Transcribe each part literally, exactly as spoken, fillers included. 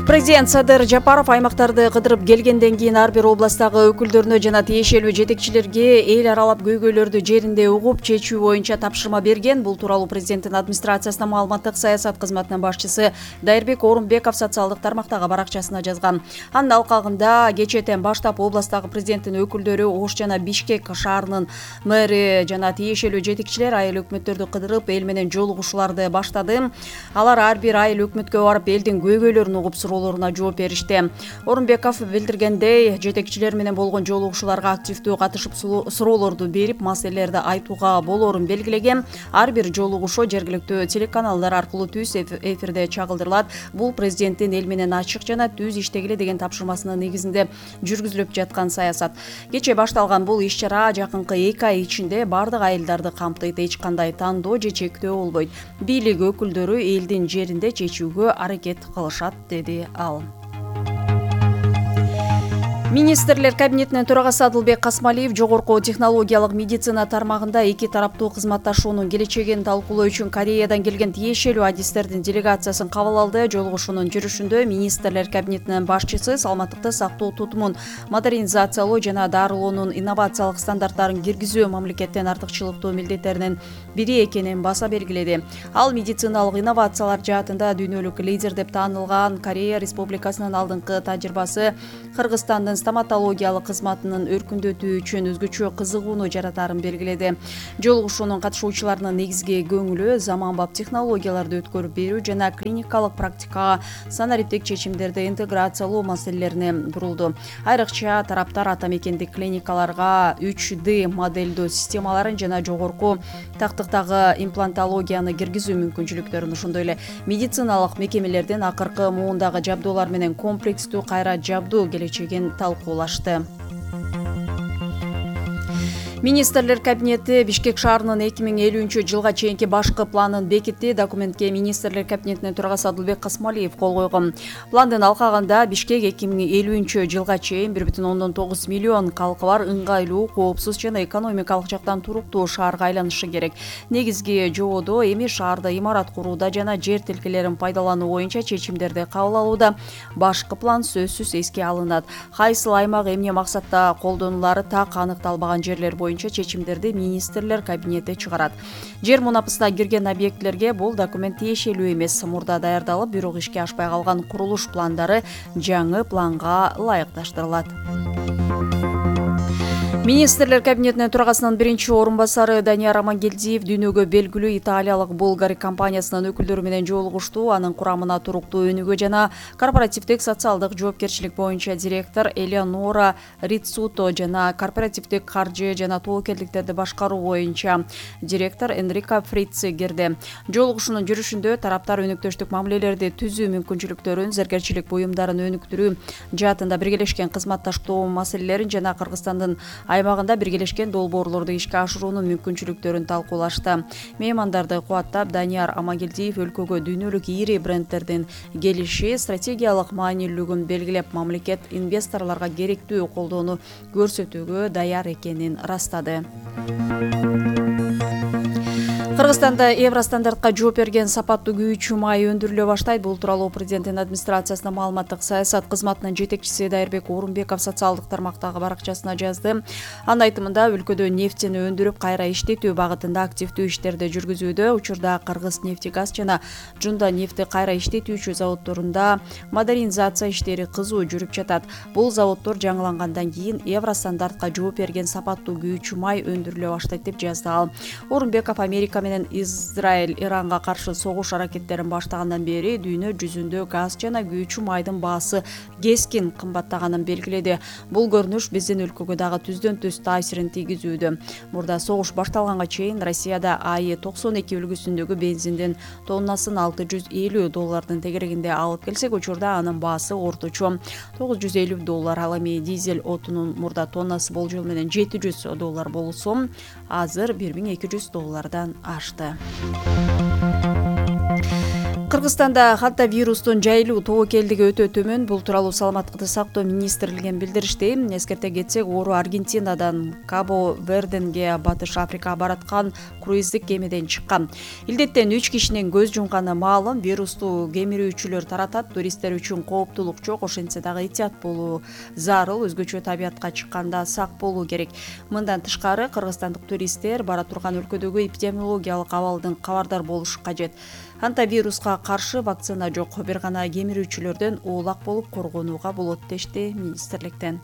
Президент Садыр Жапаров аймактарды кыдырып келгенден кийин ар бир областтагы өкүлдөрүнө жана тиешелүү жетекчилерге эл аралап көйгөйлөрдү жеринде угуп чечүү боюнча тапшырма берген. Бул тууралуу президенттин администрациясынын маалыматтык саясат кызматынын башчысы Дайырбек Орунбеков социалдык тармактагы баракчасына жазган. Анын алкагында кечээден баштап областагы президенттин өкүлдөрү Ош жана Бишкек шаарынын мэри жана тиешелүү жетекчилер айыл өкмөттөрдү кыдырып эл менен жолугушууларды баштады. Алар ар бир айыл өкмөткө барып элдин көйгөйлөрүн угуп суроолоруна жооп беришти. Орунбеков билдиргендей, жетекчилер менен болгон жолугушууларга активдүү катышып суроолорду берип, маселелерди айтууга болоорун белгилеген. Ар бир жолугушуу жергиликтүү телеканалдар аркылуу түз эфирде чагылдырылат. Бул президенттин эл менен ачык жана түз иштегиле деген тапшырмасынын негизинде жүргүзүлүп жаткан саясат. Кечээ башталган бул иш-чара жакынкы эки ай ичинде бардык айылдарды камтыйт. Эч кандай тандоо же чектөө болбойт. Бийлик өкүлдөрү элдин жеринде чечүүгө аракет кылышат, деди ал. Министрлер кабинетинин төрагасы Адылбек Касмалиев жогорку технологиялык медицина тармагында эки тараптуу кызматташуунун келечегин талкуулоо үчүн Кореядан келген тиешелүү адистердин делегациясын кабыл алды. Жолугушуунун жүрүшүндө министрлер кабинетинин башчысы саламаттыкты сактоо тутумун модернизациялоо жана дарылоонун инновациялык стандарттарын киргизүү мамлекеттин артыкчылыктуу милдеттеринин бири экенин баса белгиледи. Ал медициналык инновациялар жаатында дүйнөлүк лидер деп таанылган Корея Республикасынын алдыңкы тажрыйбасы Кыргызстандын стоматологиялык кызматынын өркүндөтүү үчүн өзгөчө кызыгууну жаратарын белгиледи. Жолугушуунун катышуучуларынын негизги көңүлү заманбап технологияларды өткөрүп берүү жана клиникалык практикага санариптик чечимдерди интеграциялоо маселелерине бурулду. Айрыкча тараптар ата мекендик клиникаларга үч дэ моделдөө системаларын жана жогорку тактыктагы имплантологияны киргизүү мүмкүнчүлүктөрүн, ошондой эле медициналык мекемелердин акыркы муундагы жабдуулар менен комплекстүү кайра жабдуу келечегин талкуулашты. Министрлер кабинети Бишкек шаарынын эки миң элүүнчү жылга чейинки башкы планын бекитти. Документке министрлер кабинетинин төрагасы Адылбек Касмалиев кол койгон. Пландын алкагында Бишкек эки миң элүүнчү жылга чейин бир бүтүн ондон тогуз миллион калкы бар ыңгайлуу, коопсуз жана экономикалык жактан туруктуу шаарга айланышы керек. Негизги жободо эми шаарда имарат курууда жана жер тилкелерин пайдалануу боюнча чечимдерди кабыл алууда. Башкы план сөзсүз эске алынат. Кайсыл аймак эмне максатта колдонулары так аныкталбаган жерлер боюнча чечимдерди министрлер кабинети чыгарат. Жер мунапысына кирген объектлерге бул документ тиешелүү эмес. Мурда даярдалып, бирок ишке ашпай калган курулуш пландары жаңы планга ылайыкташтырылат. Министрлер кабинетинин төрагасынын биринчи орун басары Данияр Амангелдиев дүйнөгө белгилүү италиялык Булгари компаниясынын өкүлдөрү менен жолугушту. Анын курамына туруктуу өнүгүү жана корпоративдик социалдык жоопкерчилик боюнча директор Элеонора Риццуто жана корпоративдик каржы жана тобокелдиктерди башкаруу боюнча директор Энрико Фрици кирди. Жолугушуунун жүрүшүндө тараптар өнөктөштүк мамилелерди түзүү мүмкүнчүлүктөрүн, зергерчилик буюмдарын өнүктүрүү жаатында биргелешкен кызматташтоо маселелерин жана Кыргызстандын аймагында биргелешкен долбоорлорду ишке ашыруунун мүмкүнчүлүктөрүн талкуулашты. Меймандарды кубаттап, Данияр Амангелдиев өлкөгө дүйнөлүк ири брендтердин келиши стратегиялык маанилүүлүгүн белгилеп, мамлекет инвесторлорго керектүү колдоону көрсөтүүгө даяр экенин ырастады. Кыргызстанда Евростандартка жооп берген сапаттуу күйүүчү май өндүрүлө баштайт. Бул тууралуу президенттин администрациясынын маалыматтык саясат кызматынын жетекчиси Дайырбек Орунбеков социалдык тармактагы баракчасына жазды. Анын айтымында, өлкөдө нефтини өндүрүп кайра иштетүү багытында активдүү иштерди жүргүзүүдө. Учурда Кыргыз-нефтегаз жана Жунда нефти кайра иштетүүчү заводдорунда модернизация иштери кызуу жүрүп жатат. Бул заводдор жаңылангандан кийин Евростандартка жооп берген сапаттуу күйүүчү май өндүрүлө баштайт деп жазды ал. Орунбеков Америка менен Израиль Иранга каршы согуш аракеттерин баштагандан бери дүйнө жүзүндө газ жана күйүүчү майдын баасы кескин кымбаттаганын белгиледи. Бул көрүнүш биздин өлкөгө дагы түздөн түз таасирин тийгизүүдө. Мурда согуш башталганга чейин Россияда АИ токсон эки үлгүсүндөгү бензиндин тоннасын алты жүз элүү доллардын тегерегинде алып келсек, учурда анын баасы орточо тогуз жүз элүү доллар. Ал эми дизель отунун мурда тоннасы болжол менен жети жүз доллар болсо, азыр бир миң эки жүз доллардан ашты. Кыргызстанда ханта вирустун жайылуу тобокелдиги өтө төмөн. Бул тууралуу Саламаттыкты сактоо министрлигинен билдиришти. Эскерте кетсек, оору Аргентинадан Кабо-Верденге, Батыш Африкага бараткан круиздик кемеден чыккан. Илдеттен үч кишинин көз жумганы маалым. Вирусту кемирүүчүлөр таратат. Туристтер үчүн кооптулук жок. Ошентсе дагы этият болуу зарыл. Өзгөчө табиятка чыкканда сак болуу керек. Мындан тышкары кыргызстандык туристтер бара турган өлкөдөгү эпидемиологиялык абалдан кабардар болушу кажет. Ханта вируска каршы вакцина жок, бир гана кемирүүчүлөрдөн оолак болуп коргонууга болот дешти министрликтен.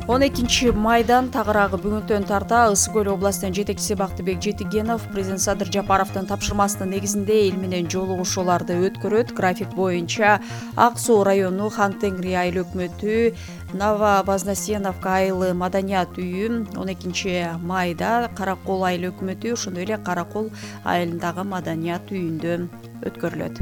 он экинчи майдан тагыраагы бүгүнтөн тарта Ысык көл областынын жетекчиси Бактыбек Жетигенов президент Садыр Жапаровдун тапшырмасынын негизинде эл менен жолугушууларды өткөрөт. График боюнча Ак Суу району Хан Тенгри айыл өкмөтү, Нововознесеновка айылы Маданият үйү, он экинчи майда Каракол айыл өкмөтү, ошондой эле Каракол айылындагы Маданият үйүндө өткөрүлөт.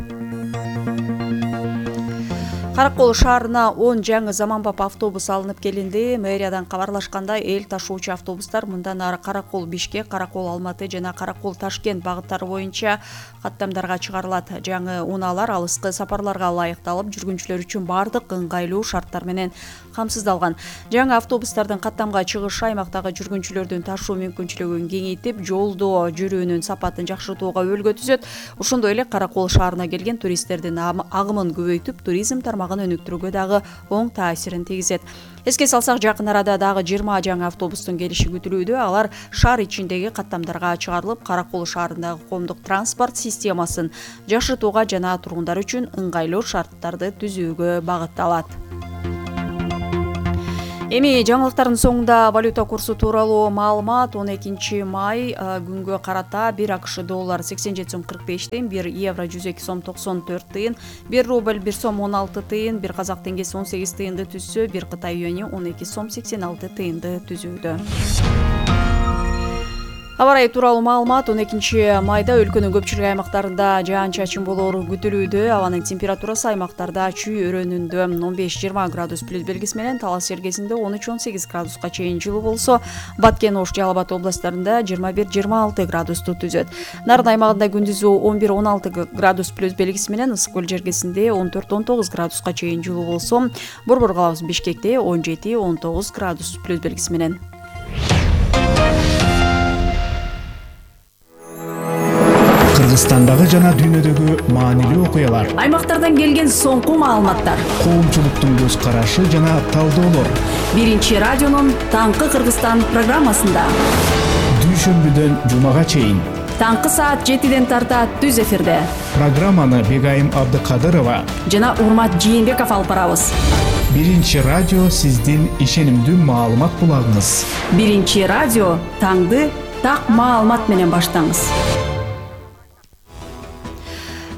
Каракол шаарына он жаңы заманбап автобус алынып келинди. Мэриядан кабарлашкандай, эл ташуучу автобустар мындан ары Каракол Бишкек, Каракол Алматы жана Каракол Ташкент багыттары боюнча каттамдарга чыгарылат. Жаңы унаалар алыскы сапарларга ылайыкталып, жүргүнчүлөр үчүн бардык ыңгайлуу шарттар менен камсыздалган. Жаңы автобустардын каттамга чыгышы аймактагы жүргүнчүлөрдүн ташуу мүмкүнчүлүгүн кеңейтип, жолдо жүрүүнүн сапатын жакшыртууга өбөлгө түзөт. Ошондой эле Каракол шаарына келген туристтердин агымын көбөйтүп, туризм тармагын өнүктүрүүгө дагы оң таасирин тийгизет. Эске салсак, жакын арада дагы жыйырма жаңы автобустун келиши күтүлүүдө. Алар шаар ичиндеги каттамдарга чыгарылып, Каракол шаарындагы коомдук транспорт системасын жакшыртууга жана тургундар үчүн ыңгайлуу шарттарды түзүүгө багытталат. Эми жаңылыктардын соңунда валюта курсу тууралуу маалымат. он экинчи май күнгө карата бир АКШ доллар сексен жети сом кырк беш тыйын, бир евро жүз эки сом токсон төрт тыйын, бир рубль бир сом он алты тыйын, бир казак теңгеси он сегиз тыйынды түзсө, бир Кытай юаньи он эки сом сексен алты тыйынды түзүүдө. Аба ырайы тууралуу маалымат. он экинчи майда өлкөнүн көпчүлүк аймактарында жаан-чачын болоору күтүлүүдө. Абанын температурасы аймактарда чүй өрөөнүндө он беш жыйырма градус плюс белгиси менен, Талас Сергесинде он үч он сегиз градуска чейин жылуу болсо, Баткен, Ош, Жалал Абад областарында жыйырма бир жыйырма алты градусту түзөт. Нарын аймагында күндүзү он бир он алты градус плюс белгиси менен, Ысык көл жергесинде он төрт он тогуз градуска чейин жылуу болсо, Борбор калабыз Бишкекте он жети он тогуз градус плюс белгиси менен. Кыргызстандагы жана дүйнөдөгү маанилүү окуялар, аймактардан келген соңку маалыматтар, коомчулуктун көз карашы жана талдоолор. Биринчи радионун Таңкы Кыргызстан программасында. Дүйшөмбүдөн жумага чейин. Таңкы саат жетиден тарта түз эфирде. Программаны Бегайым Абдыкадырова жана Урмат Жээнбеков алып барабыз. Биринчи радио сиздин ишенимдүү маалымат булагыңыз. Биринчи радио таңды так маалымат менен баштаңыз.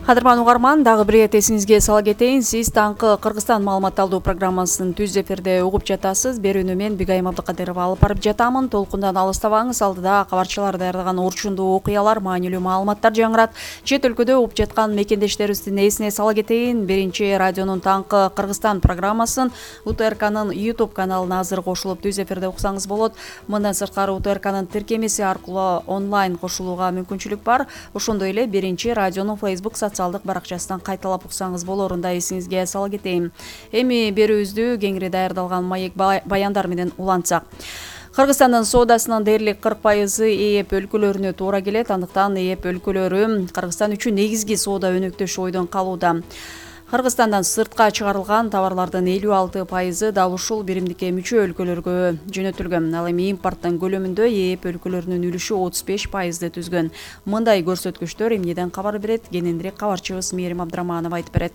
Кадырман угарман, дагы бир ирет эсиңизге сала кетейин. Сиз Таңкы Кыргызстан маалыматталдуу программасын түз эфирде угуп жатасыз. Берүүнү мен Бегайым Абдыкадырова алып барып жатамын. Толкундан алыстабаңыз. Алдыда кабарчылар даярдаган орчундуу окуялар, маанилүү маалыматтар жаңырат. Чет өлкөдө угуп жаткан мекендештерибиздин эсине сала кетейин. Биринчи радионун Таңкы Кыргызстан программасын УТРКнын YouTube каналына азыр кошулуп түз эфирде уксаңыз болот. Мындан сырткары УТРКнын тиркемеси аркылуу онлайн кошулууга мүмкүнчүлүк бар. Ошондой эле Биринчи радионун Facebook социалдык баракчасынан кайталап уксаңыз болорунда эсиңизге сала кетейин. Эми берүүбүздү кеңири даярдалган маек баяндар менен улантсак. Кыргызстандын соодасынын дээрлик кырк пайызы ээп өлкөлөрүнө туура келет. Андыктан ээп өлкөлөрү Кыргызстан үчүн негизги соода өнөктөш ойдон калууда. Кыргызстандан сыртка чыгарылган товарлардын элүү алты пайызы дал ушул биримдикке мүчө өлкөлөргө жөнөтүлгөн. Ал эми импорттун көлөмүндө ээп өлкөлөрүнүн үлүшү отуз беш пайызды түзгөн. Мындай көрсөткүчтөр эмнеден кабар берет? Кененирээк кабарчыбыз Мээрим Абдыраманова айтып берет.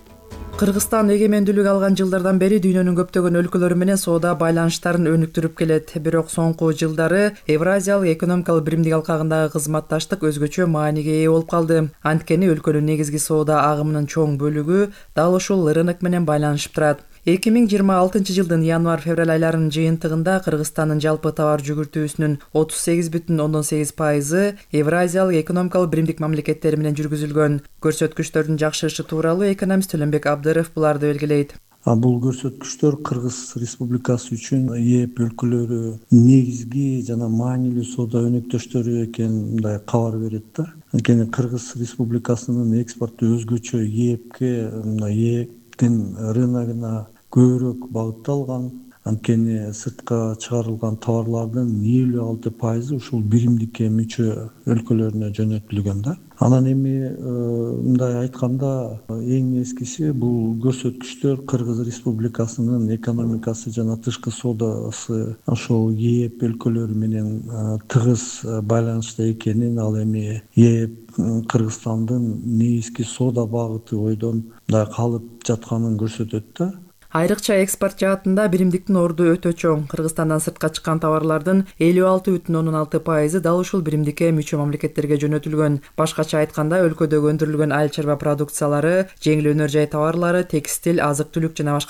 Кыргызстан эгемендүүлүк алган жылдардан бери дүйнөнүн көптөгөн өлкөлөрү менен соода байланыштарын өнүктүрүп келет. Бирок соңку жылдары Евразиялык экономикалык биримдик алкагындагы кызматташтык өзгөчө мааниге ээ болуп калды. Анткени өлкөнүн негизги соода агымынын чоң бөлүгү дал ушул рынок менен байланышып турат. эки миң жыйырма алтынчы жылдын январь-февраль айларынын жыйынтыгында Кыргызстандын жалпы товар жүгүртүүсүнүн отуз сегиз бүтүн ондон сегиз пайызы Евразиялык экономикалык биримдик мамлекеттери менен жүргүзүлгөн. Көрсөткүчтөрдүн жакшырышы тууралуу экономист Төлөнбек Абдыров буларды белгилейт. Бул көрсөткүчтөр Кыргыз Республикасы үчүн ээп өлкөлөрү негизги жана маанилүү соода өнөктөштөрү экенин мындай кабар берет да. анткени Кыргыз Республикасынын экспорту өзгөчө ээпке, мына ээптин рыногуна көбүрөөк багытталган. Анткени сыртка чыгарылган товарлардын элүү алты пайызы ушул биримдикке мүчө өлкөлөрүнө жөнөтүлгөн да. Анан эми мындай айтканда эң эскиси бул көрсөткүчтөр Кыргыз Республикасынын экономикасы жана тышкы соодасы ошол ээп өлкөлөрү менен тыгыз байланышта экенин, ал эми ээп Кыргызстандын негизги соода багыты бойдон мындай калып жатканын көрсөтөт да. Айрыкча экспорт жаатында биримдиктин орду өтө чоң. Кыргызстандан сыртка чыккан товарлардын элүү алты бүтүн ондон алты пайызы дал ушул биримдикке мүчө мамлекеттерге жөнөтүлгөн. Башкача айтканда, өлкөдөгү өндүрүлгөн айыл чарба продукциялары, жеңил өнөр жай товарлары, текстиль, азык-түлүк жана башка